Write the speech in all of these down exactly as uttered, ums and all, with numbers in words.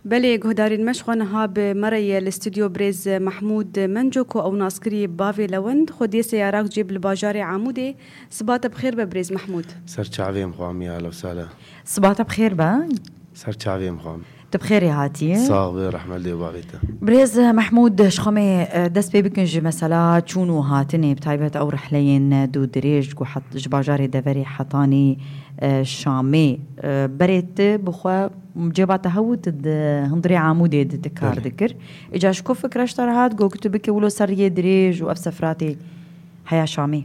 Belê, guhdarên me, ji xwe niha bi me re ye li stûdyo birêz Mehmûd Menco, ku ew nas kirî bavê Lewend, xwediyê seyarak cêb li bajarê Amûdê. Siba te bi xêr be birêz Mehmûd. Ser çavê em xwamiya lewsala. Siba te bi xêr be. Ser çavê em xwam. Tu bi xêrê hatiye. Sax be, rehmet lê bavê te. Birêz Mehmûd, ji xwe me, e, dest pê bikin ji mesela çûn û hatinê, bi taybet ew rihleyên dû dirêj ku het-, ji bajarê deverê hetanî, e, Şamê, e, berê tu bi xwe cêba te hew, tu di hundirê Amûdê de tu kar Belê. dikir. Îca ji ku fikra ji te re hat, got ku tu bike wilo ser riyê dirêj û ev seferatê heya Şamê?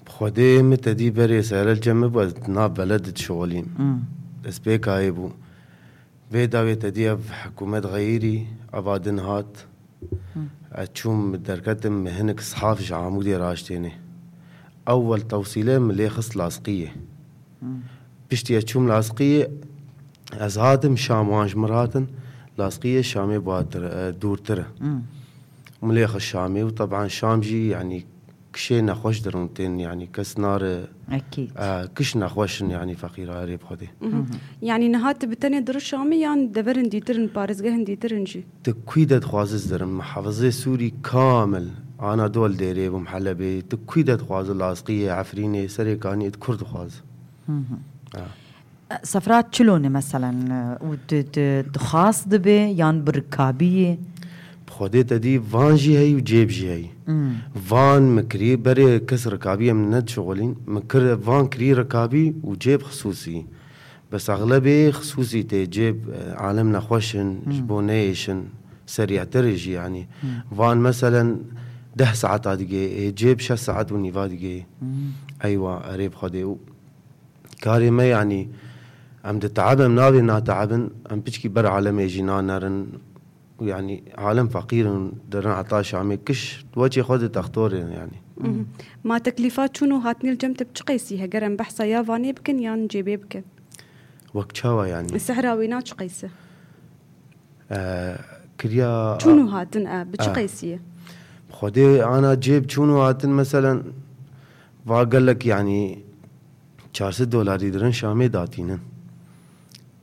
Bi Xwedê min te dî berê serel cem min bû, ez nav beled dişixulîm. Hmm. Destpêka wê bû. Vê dawê te dî ev hikûmet xeyirî, eva din hat. Hmm. Ez çûm derketim, min hinek sihaf ji Amûdê raştêne. Ewwel tewsîle min lê xist Lasqiyê. Hmm. Piştî ez çûm Lasqiyê, ez hatim Şam, wan ji min hatin. Lasqiyê Şamê batir, e, dûrtir e. Hmm. Min lê xist Şamê û teban Şam jî, yanî, kişê nexweş dirin tên, yanî, kes nare, Ekîd. e, kiş nexweş in, yanî, feqîra erê bi Xwedê. Mhm. Yanî niha tu bi tenê dir Şamê yan deverin dîtir in, parêzgehin dîtir in jî? Tu kwî de dixwaze ez dirim, muhafizê Sûrî kamil, Anadol dêrê bûm, Helebê, tu kwî de dixwaze, Lasqiyê, Efrînê, Serêkaniyê, tu kur dixwaze. Mhm. Ha. Sefra çilo ne meselen, û di, di, dixwast dibe yan bi rikabî ye? Bi Xwedê te dî van jî heyî û cêb jî heyî. Hmm. Van min kirî, berê kes rikabî em nedişixulîn. Min kir, van kirî rikabî û cêb xisûsî. Bes exlebê xisûsî tê cêb, e, alem nexweş in, Hmm. ji bo neyêşin, serîhtir jî yanî. Hmm. Van meselen deh saeta digê, ê cêb şeş saet û nîva digê. Hmm. Eywa, erê bi Xwedê. Û karê me, yanî, em diteebin, em navê nateebin, em piçkî ber alemê jî nanerin. Û, yanî, alem feqîr in, dirin heta Şamê kiş, weçê xwe di textorê, yanî. Mhm. Ma teklîfa çûn û hatinê li cem te bi çi qeysî? Heger em behsa ya vanê bikin yan cêbê bikin? Wek çawa, yanî? Sehra wêna çi qeysî? E, kiriya Çûn û hatin, e, bi çi E. qeysî ye? Xwedê ana cêb çûn û hatin, meselen, va gelek, yanî, çar sed dolarî dirin Şamê datînin.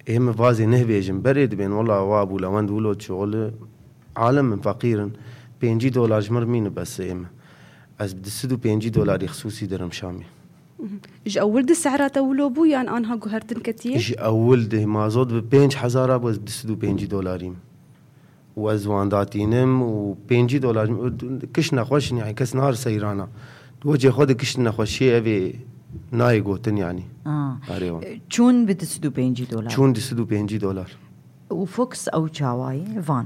Ê min vazê nehbêjin, berê dibên, wela wa bû Lewend wilo şixul, alem min feqîr in, pêncî dolar ji min re mîne bes ê min. Ez bi du sed û pêncî dolarî xisûsî dirim Şamê. Mhm. Ji ewil di sehra te wilo bû yan anha guhertin ketiye? Ji ewil di mazot bi pênc hezara bû, ez bi du sed û pêncî dolarîm. Û ez wan datînim û pêncî dolar, kiş nexweş in, yanî kes nare seyrana. Di wecê xwe de kişt nexweşiyê evê nayê gotin, yanî. Ah. Arê wan. Çûn bi du sed û pêncî dolar. Çûn du sed û pêncî dolar. Û Fox ew çawayî? Van.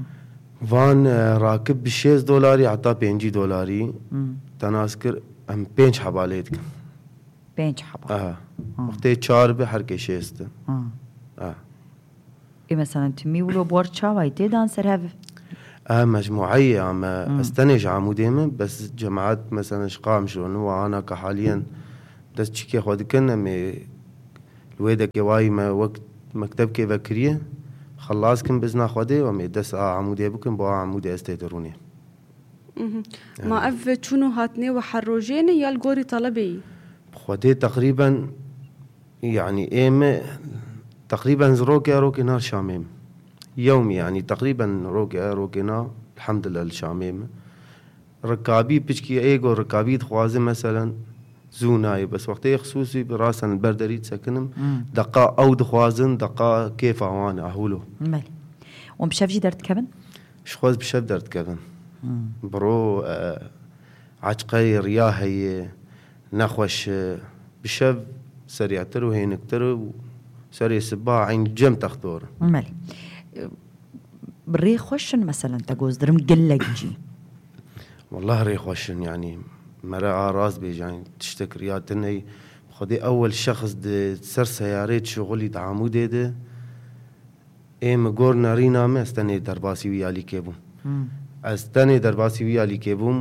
Van, e, rakib bi şêst dolarî heta pêncî dolarî. Hmm. Te nas kir, em pênc heba lê dikin. Pênc heba. Aha. Ha. Wextê çar bi, her kê şêst in. Ha. Ha. Ê, meselen, timî wilo bor çawayî tê dan ser hev? E, mecmueyê ya me, Hmm. ez tenê ji Amûdê me, bes cemaet, meselen, ji Qamişlo ne, wa ana ke haliyen dest çikê xwe dikin, em ê li wê dekê wayî me wek mektebkê vekiriye, xelas kin bizna Xwedê, em ê dest a Amûdê bikin, bo a Amûdê ez tê de rûnê. Mhm. Ma ev çûn û hatinê we her rojê ne ya li gorî talebê yî? Bi Xwedê teqrîben, yanî ê me teqrîben rokê rokê na Şamê me. Yewmî, yanî teqrîben rokê rokê na, elhamdulillah, li Şamê me. Rikabî piçkî ê go rikabî dixwaze, meselen, zû nayê. Bes wextê xisûsî bi rasen li ber derî disekinim, Hmm. deqa ew dixwazin, deqa kêfa wan e, ahûlo. Belê. Wan bi şev jî derdikevin? Ji xwe ez bi şev derdikevin. Hmm. Biro, e, açqeyê riya heye, nexweş e, bi şev serîhtir û hêniktir û serê siba eyn cem textor. Belê. Bi rê xweş in, meselen, te goz dirim gelek cî. Wallah rê xweş in, yanî mere a rast bêje, yanî tiştek riya tune ye. Xwedê ewel şexs di ser seyarê dişixulî di Amûdê de, ê min gor nerîna me, ez tenê derbasî wî alîkê bûm. Hmm. Ez tenê derbasî wî alîkê bûm,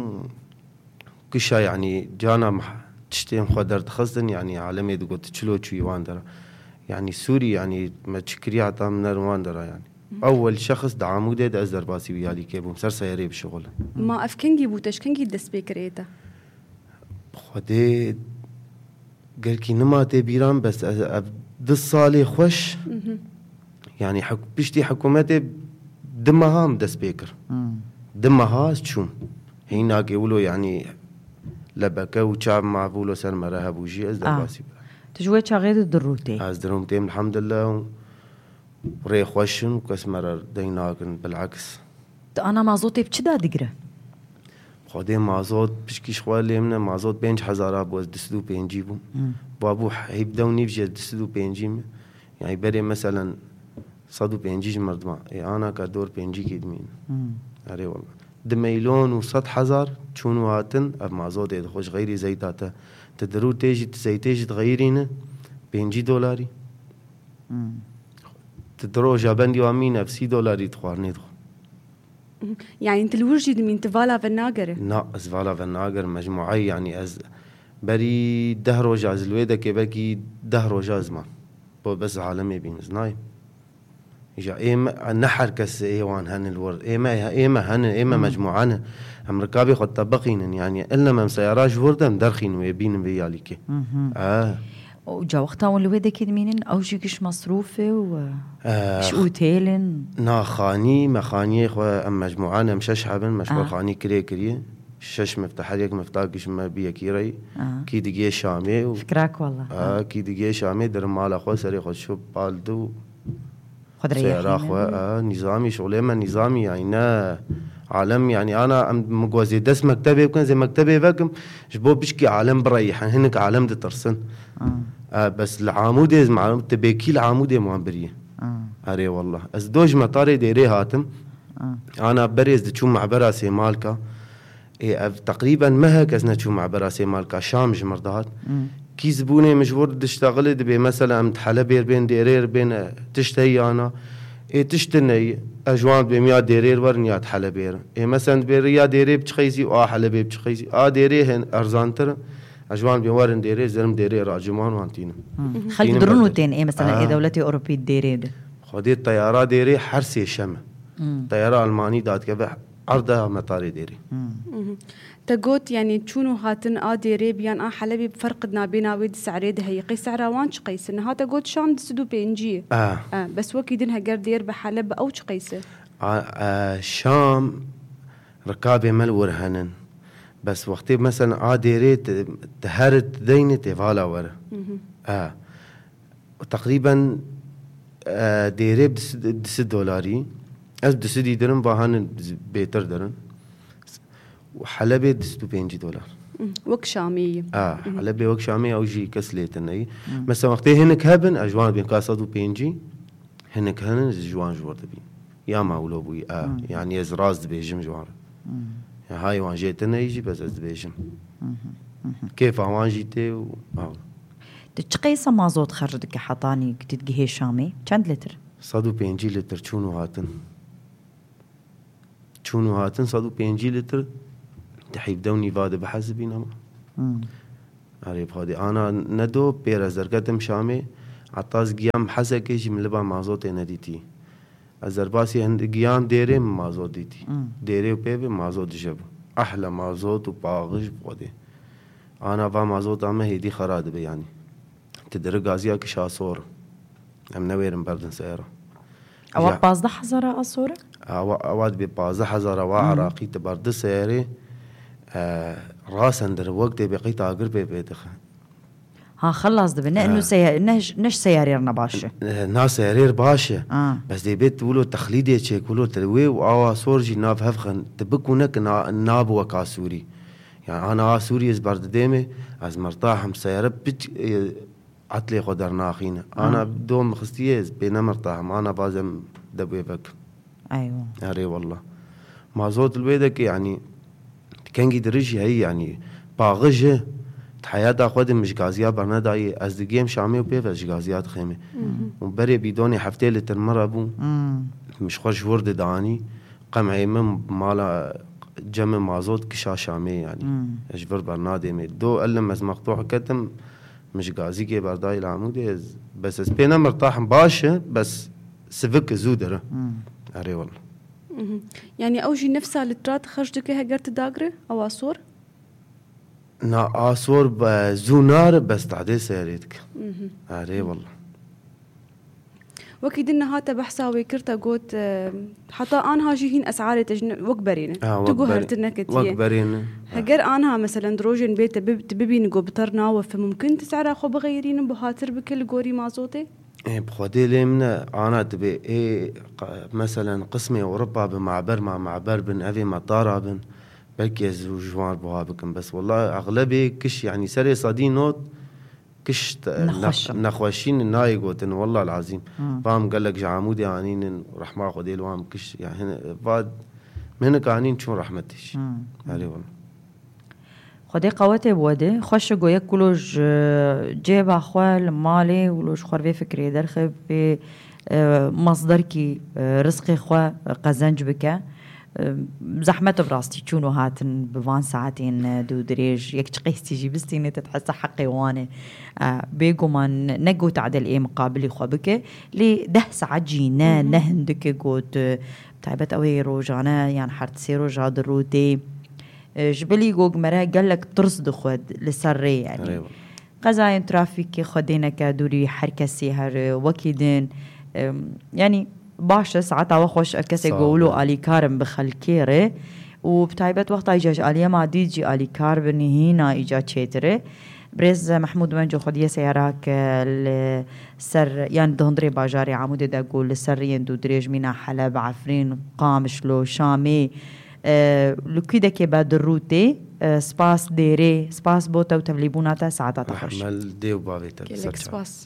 kişa, yanî, cana meh-, tiştên xwe derdixistin, yanî, alemê digot, çilo çûyî wan dera. Yanî, Sûrî, yanî, me çi kiriya heta min nerin wan dera, yanî. Ewwel şexs di Amûdê de ez derbasî wî alîkê bûm, ser seyarê bişixulin. Ma ev kengî bû, te ji kengî dest pê kir ê te? Xwedê gelkî nima tê bîran, bes ez, ev du salê xweş, Mhm. yanî, hik-, piştî hikûmetê Di meha em dest pê kir. Di meha ez çûm. Hînakê wilo, yanî lebeke û çav ma wilo ser me re hebû jî ez derbasî bikim. Tu ji wê çaxê de dirû tê? Ez dirûm têm, elhamdulillah, û rê xweş in û kes me re deng nakin, bileks. Tu ana mazotê bi çi dadigire? Xwedê mazot pişkî ji xwe lê min e, mazot pênc hezara bû, ez du sed û pêncî bûm. Hmm. Wa bû heyb dew nîv jî ez du sed û pêncî me. Yani berê meselen sed û pêncî ji merdima. Ê ana ka dor pêncî kê dimîn. Hmm. Erê wala. Di meylon û sed hezar çûn û hatin, ev mazotê dixwe ji xeyrî zeyta te. Ti dirû tê jî, ti zeytê jî dixeyirîne, pêncî dolarî. Hmm. Ti di roja bendî wa mîne, ev sî dolarî dixwarinê dixwe. Yani tu li wir jî dimîn, tu vala ve nagere? Na, ez vala ve nagerim, mecmuayê, yani ez berî deh roja ez li wê dekê, belkî deh roja ez mam. Bo bes alemê bîn, ez nayêm. Îja ê me, ne her kes ê wan hene li wir. Ê me, ê me hene, ê me mecmua ne. Em rikabê xwe tebiqînin, yani ilem em seyara ji wir de em derxînin wê bînin vê yalîkê. E. Û ca wexta hûn li wê dekê dimînin, ew jî giş mesrûf e û, e, Eh, giş otêl in? Na, xanî, me xaniyê xwe, em mecmûan, em şeş heb in, me ji xwe Ah. xanî kirê kiriye. Şeş mifta, her yek mifta giş me bi yekî re. Ah. Kî digê Şamê û Fikrak wala. Ah, kî digê Şamê, dirim mala xwe, serê xwe şo bal du. Xwe dirêyexînin. Seyara xwe, ah, nîzamî, şolê me nîzamî, yani ne alem, yani ana em min got zê dest mektebê bikin, zê mektebê vekim, ji bo pişkî alem bireyî, hin-, hinek alem ditirsin. Ah. Ah, bes li Amûdê ez malum, tu bêkî li Amûdê wan biriye. Ah. Erê wallah. Ez do ji metarê dêrê hatim. Ah. Ana berê ez diçûm mebera Sêmalka. Ê, ev teqrîben mehek ez neçûm mebera Sêmalka, Şam ji mir dihat. Hmm. Kî zibûnê min ji wir diştexilê dibê, mesela em di Helebê bên, dêrê bên, e, tişt heyana. Ê, tişt tune ye, ez ji wan dibêm ya dêrê werin ya di Helebê re. Ê, mesela dibê ya dêrê bi çi qeysî û a Helebê bi çi qeysî. A dêrê hin erzantir in. Ez ji wan dibêm werin dêrê, zerim dêrê racim wan wan tînim. Hmm. Xelk Tînim dirûn û dêrê. Tên, ê, mesela, ê Ah. dewletê Ewropî dêrê de. Xwedê teyara dêrê her sê şem e. Hmm. Teyara Almanî dadikeve erda metarê dêrê. Hmm. Mhm. Te got, yani çûn û hatin a dêrê biyan a Helebê bi ferq nabêna wê di se'rê de heye. Qey se'ra wan çi qeys e? Niha te got Şam di sed û pêncî ye. Ah. Ah, bes wekî din heger dêr bi Heleb bi ew çi qeys e? A, a, Şam rikabê me li wir henin. Bes wextê mesela a dêrê te, te her te deyne tê vala were. Mhm. Ah. Teqrîben, e, dêrê bi du sed, du sed dolarî. Ez du sedî dirim, va hanin bêtir dirin. Û Helebê du sed û pêncî dolar. Hı, wek Şamê ye. A, Hı hı. Helebê wek Şamê, ew jî kes lê tune ye. Hı. Mesela wextê hinek hebin, ez ji wan dibêm ka sed û pêncî, hinek henin, ez ji wan ji wir dibînim. Ya ma wilo bûyî, a, Hı. yani ez rast dibêjim ji wan re. Hı. Ya hay wan jê tune ye jî, bes ez dibêjim. Hı hı, hı hı. Kêfa wan jî tê û, a. Tu çi qeysa mazot xerc dike hetanî ku tu digihê Şamê? Çend litr? Sed û pêncî litr çûn û hatin. Çûn û hatin sed û pêncî litr di heyvde û nîva de bihesibîn ama. Hmm. Erê, bi Xwedê. Ana ne do pêr ez derketim Şamê, heta ez giyam Hesekê jî min liba mazotê nedîtî. Ez derbasî hin-, giyam dêrê min mazot dîtî. Hmm. Dêrê û pê ve mazot dije bû. Ehle mazot û paxij bi Xwedê. Ana va mazota me hêdî xera dibe yanî. Ti diri gaziya kişa sor. Em newêrin berdin seyara. Ewa Ya. pazdeh hezara a sor e? Ewa, ewa dibê pazdeh hezara wa Hı. Iraqî ti berdi seyarê, e, rasen diri wek dê bê qey tagir pê pê dixe. Ha, xelas dibe. Ne Ha. inu seya-, ne ş-, ne ji seyarê re ne baş e. E, na seyarê re baş e. Ha. Bes dê bê tu wilo texlîdê çêk, wilo tu wê û awa sor jî nav hev xin. Tu bikûne ki na, nabi weka Sûrî. Yani ana a Sûrî ez berdidêmê, ez mirtahim seyare piç, e, etlê xwe dernaxîne. Ha. Ana dom xistiye ez pê nemirtahim, ana bazem debê vek. Eywa. Erê wallah. Mazot li wê deke, yanî, kengî dirij jî heyî, yanî, paxij e. Di heyata xwe de min ji gaziya bernedayê, ez digêm Şamê û pê ve ji gaziya dixêmê. Hı hı. Û berê bîdonê heftê litr min re bû. Hmm. Min ji xwe ji wir didanî. Qemeyê min mala cemê mazot kişa Şamê, yanî. Hmm. Ez ji vir bernadêmê. Do elim ez mextûh ketim, min ji gazîkê berdayî li Amûdê, ez, bes ez pê nemirtahim, baş e, bes sivik zû dire. Hmm. Erê wala. Mhm. Yani ew jî nefsa litrat xerc dike heger tu dagre, ewa sor? Na, a sor be-, zû nare, bes tadê seyarê dike. Mhm. Erê wala. Wekî din niha te behsa wê kir, te got, e, heta anha jî hîn esarê te ji ne-, wek berê ne. Ha, Tu wek guher berê- tu neketiye. Wek berê ne. Heger anha, meselen, di rojên bê te bib-, tu bibînî ku bi ter nawefe, mumkin tu sera xwe bixeyrînin, buhatir bike li gorî mazotê? Ê, bi Xwedê lê min e, ana dibe. Ê, qa- meselen, qismê Ewropa bi maber ma maber bin, evê me tara bin. Belkî ez ji wan buha bikim. Bes, wela, exlebê kiş, yanî serê sedî not kiş te- Nexweş e. ne- nexweşî nayê gotin, wela lazîm. Hmm. Vam gelek ji Amûdê anînin, rehma Xwedê li wan kiş. Yani, va minik anîn çûn rehmetê jî. Hmm. Erê wela. Xwedê qewetê bi we de. Xweş e ku yek wilo ji cêba xwe li malê, wilo ji xwe vê fikrê derxe, vê, e, masderkî, e, rizqê xwe, e, qezenc bike. E, zehmet e bi rastî çûn û hatin bi van saetên, e, dû dirêj. Yek çiqêstî jî bistînê, te dihese heqê wan e. E, bêguman ne ku tadil ê miqabilî xwe bike, lê deh saet jî ne, ne hindik e ku tu, taybet ew ê rojane yan her sê roja di rû tê. E, ji bilî ku mere gelek tirs dixwe li ser rê, yani. Erê wela. Qezayên trafîkê xwedê neke dûrî her kesî her, e, wekî din. E, yani baş e, saeta we xweş, ev kesê Sağ ku ol. wilo alîkar in bi xelkê re û bi taybet wexta îca ji aliyê madî jî alîkar bin, hîna îca çêtir e. Birêz Mehmûd Wenco xwediyê seyarak, e, li ser, yani di hundirê bajarê Amûdê de ku li ser riyên dû dirêj mîna Heleb, Efrîn, Qamişlo, Şamê, e, li kûdekê be di rû tê. E, spas dêrê, spas bo te û tevlîbûna te, saeta te xweş. Rehme li dê û bavê te. Gelek Ser çav. spas.